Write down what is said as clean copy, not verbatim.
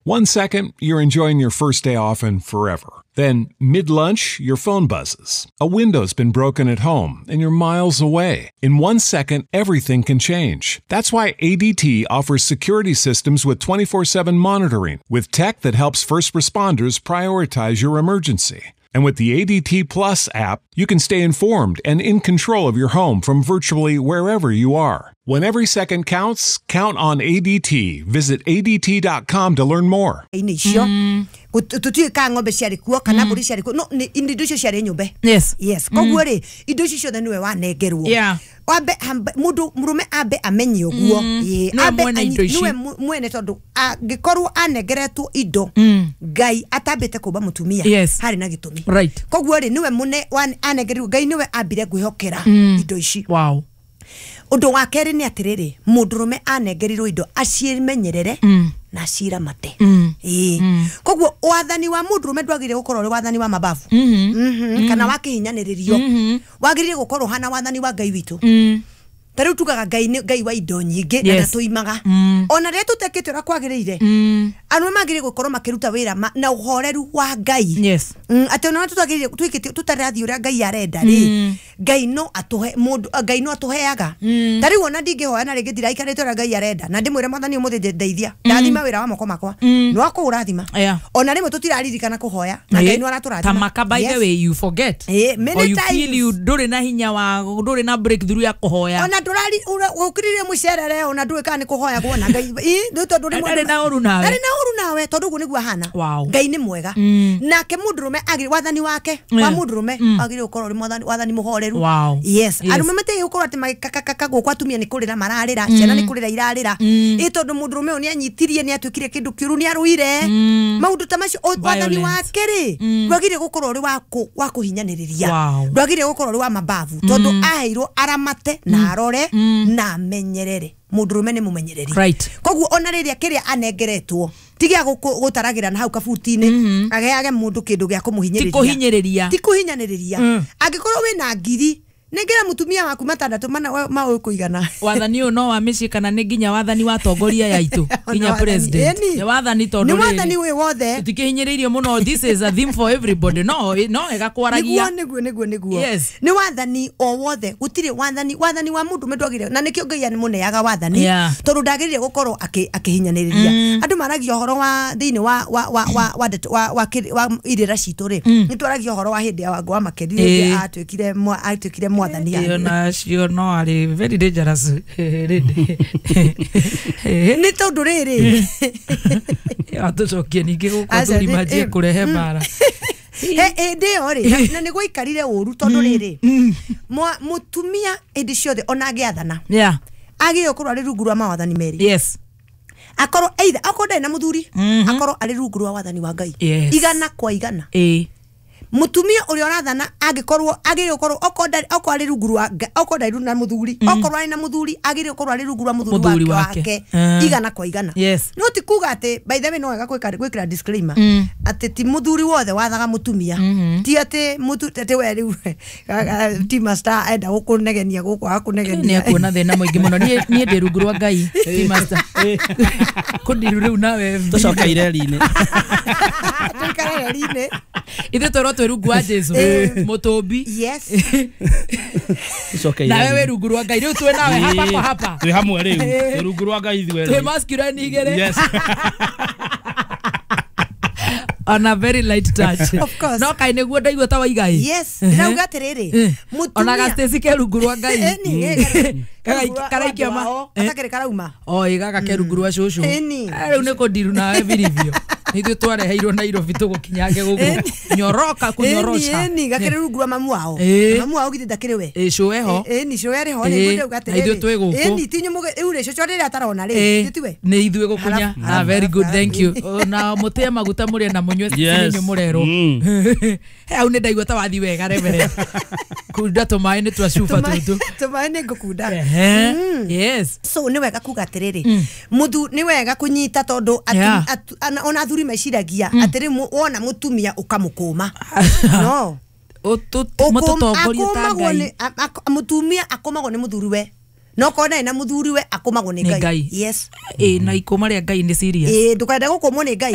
1 second, you're enjoying your first day off and forever. Then, mid-lunch, your phone buzzes. A window's been broken at home, and you're miles away. In 1 second, everything can change. That's why ADT offers security systems with 24/7 monitoring, with tech that helps first responders prioritize your emergency. And with the ADT Plus app, you can stay informed and in control of your home from virtually wherever you are. When every second counts, count on ADT. Visit ADT.com to learn more. Icio tutiĩ ka ng'ombe ciarĩ kuo kana mbũri ciarĩ kuo, no nĩ indo icio ciarĩ nyũmbe. Yes, koguo rĩ, indo icio ciothe nĩwe wanengerwo. Wambe mũndũ mũrũme ambe amenye ũguo. Ĩĩ, Nĩwe ambe mwene indo ici. Nĩwe mwene, tondũ angĩkorwo anengeretwo indo Ngai atambĩte kũmba mũtumia, harĩ na gĩtũmi. Koguo rĩ, nĩwe mũne anengerirwo Ngai, nĩwe ambire kwĩhokera indo ici. Ũndũ wa kerĩ nĩ atĩrĩrĩ, mũndũrũme anengerirwo indo acimenyerere na aciramate. Ĩĩ, koguo wathani wa mũndũrũme ndwagĩrĩire gũkorwo ũrĩ wathani wa mababu kana wa kĩhinyanĩrĩrio, wagĩrĩire gũkorwo ũhana wathani wa Ngai witũ. Ta rĩu tugaga Ngai nĩ Ngai wa indo nyingĩ na ndatũimaga ona rĩrĩa tũtekĩte ũrĩa kwagĩrĩire. Arũme magĩrĩire gũkorwo makĩruta wĩra na ũhoreru wa Ngai. Atĩ ona tutagĩrĩire twĩkĩte tũtarathiĩ ũrĩa Ngai arenda rĩ, Ngai no atũhe mũndũ, Ngai no atũheaga. Ta rĩu ona ndingĩhoya na rĩngĩ ndiraikarĩte ũrĩa Ngai arenda na ndĩmwĩre, Mwathani, ũmũthĩ ndeithia, ndathima wĩra wa moko makwa, nĩ wakũũrathima. Ona rĩmwe tũtiraririkana kũhoya na Ngai no aratũrathima. Tamaka, by the way, you forget many or you times. feel you ndũrĩ na hinya wa, ndũrĩ na breakthrough ya kũhoya. Ona ndũrari ũkirire mũcerere, ona ndũĩ kana nĩ kũhoya kuona Ngai. Ĩ, nĩ tondũ rĩmwe Ndarĩ na ũru nawe. Ndarĩ na ũru nawe, tondũ ũguo nĩguo ahana. Ngai nĩ mwega. Nake mũndũrũme agĩrĩ wathani wake wa mũndũrũme agĩrĩire gũkorwo ũrĩ wathani mũhoreru. Yes. Arũme matiagĩrĩire gũkorwo atĩ magĩkakakaka gũkũ, atumia nĩ kũrĩra mararĩra, ciana nĩ kũrĩra irarĩra, ĩ tondũ mũndũrũme ũyũ nĩ anyitirie, nĩ atuĩkire kĩndũ kĩũru, nĩ arũire, maũndũ ta macio. Wathani Violence. wake rĩ, ndwagĩrĩire gũkorwo ũrĩ wa kũhinyanĩrĩria, ndwagĩrĩire gũkorwo ũrĩ wa mababu, tondũ aheirwo aramate na arore na amenyerere. Mũndũrũme nĩ mũmenyereri. Koguo ona rĩrĩa kĩrĩa anengeretwo ti gĩa gũtaragĩra na hau kabuti-inĩ, ageage mũndũ kĩndũ gĩa kũmũhinyĩrĩria. Ti kũhinyĩrĩria. Ti kũhinyanĩrĩria. Angĩkorwo wĩna ngiri, nengera mũtumia waku matandatũ mana ma ũkũigana. Wathani ũyũ no wa mĩciĩ kana nĩ nginya wathani wa tongoria ya itũ, nginya wathani. president? Ĩni. Nĩ wathani, tondũ Nĩ rĩrĩ, wathani wĩ wothe. Tũtikĩhinyĩrĩirio mũno. This is a theme for everybody, no wega kwaragia. Nĩguo. Nĩ wathani o wothe, gũtirĩ wathani wa mũndũ ndwagĩrĩire, na nĩkĩo Ngai mũneaga wathani, tondũ ndagĩrĩire gũkorwo akĩhinyanĩrĩria. Andũ maragia ũhoro wa thĩinĩ wa ndeto- wa irĩra citũ rĩ, nĩ twaragia ũhoro wa hĩndĩ ya Wangũ wa Makeri, rĩrĩa atuĩkire mwathani Ĩyo handũ. Nacio no arĩ very dangerous lady. Nĩ tondũ rĩrĩ, Atũcokie ningĩ gũkũ Aca, athuri manjie kũrehe mbara. Hĩndĩ ĩyo rĩ, na nĩ gwaikarire ũru, tondũ rĩrĩ, mũtumia hĩndĩ ciothe ona angĩathana, agĩrĩire gũkorwo arĩ rungu rwa mawathani merĩ. Akorwo either akorwo ndarĩ na mũthuri, akorwo arĩ rungu rwa wathani wa Ngai. Igana kwa igana. Mutumia ũrĩa ũrathana angĩkorwo agĩrĩire gũkorwo okorwo arĩ rungu rwa okorwo ndarĩ na mũthuri, okorwo arĩ na mũthuri, agĩrĩire gũkorwo arĩ rungu rwa mũthuri Mũthuri wake, wake. wake igana kwa igana. No ti kuga atĩ, by the way, no wega gwĩkĩra disclaimer atĩ ti mũthuri wothe wathaga mũtumia, ti atĩ atĩ we rĩu ti master enda gũkũnegenia gũkũ Nĩ akũnegenia. Akuona thĩna mũingĩ mũno. Niĩ ndĩ rungu rwa Ngai, ti master kũndiru rĩu nawe. Tũcoke ireri-inĩ. Tũikare reri-inĩ. Ithuĩ twerwo twĩ rungu wa Jesu mũtũmbi. Tũcoke Nawe wĩ ireri-inĩ. rungu rwa Ngai, rĩu twĩ nawe hapa kwa hapa. Twĩ hamwe rĩu, twĩ rungu rwa Ngai ithuerĩ. Twĩ masculine igĩrĩ. On a very light touch. Of course. No kaĩ nĩguo ndaigua ta waiga ĩ. Yes, ndĩrauga atĩrĩrĩ, Ona mũtumia ga Stacy ke rungu rwa Ngai. Ĩni, ĩ, Karaikia ma gatakĩrĩ karauma. O ĩ gaka ke rungu rwa cũcũ. Ĩni. Rĩu nĩ kũndiru nawe biribio, nĩ ithuĩ twareheirwo Nairobi tũgũkinyange gũkũ nyoroka kũnyorosha. Ĩni, gakĩrĩ rungu rwa mamu wao. Mamu wao githĩ ndakĩrĩ we? Ĩ, cũe ho. Ĩni, cũe arĩ ho. Ĩ, Nĩguo ndauga na ithuĩ atĩrĩrĩ, twĩ gũkũ. ĩni, ti inyuĩ rĩu rĩ, cũcũ rĩrĩa atarona rĩ, githĩ tiwe? Nĩ ithuĩ gũkunya. Harabu, Ah, harabu, very good. harabu. Thank you. Na mũtĩe maguta mũrĩe na mũnyue. Nĩ mũrerwo. He hau nĩ ndaigua ta wathi wega rebere kunda tũmaĩ nĩ twa cuba tũtũ. Tũmaĩ nĩ ngũkunda. Ehe. Yes. So nĩ wega kuga atĩrĩrĩ, mũthu nĩ wega kũnyita, tondũ ona athuri meciragia atĩrĩ, wona mũtumia ũkamũkũma no Mũtũtongorie ta Akũmagwo Ngai. Mũtumia akũmagwo nĩ mũthuri we. No korwo na muthuri we akomagwo nĩ Nĩ Ngai. Ngai. Yes. Ĩ na ikũma rĩa Ngai nĩ serious. Ĩ ndũkende gũkũmwo nĩ Ngai.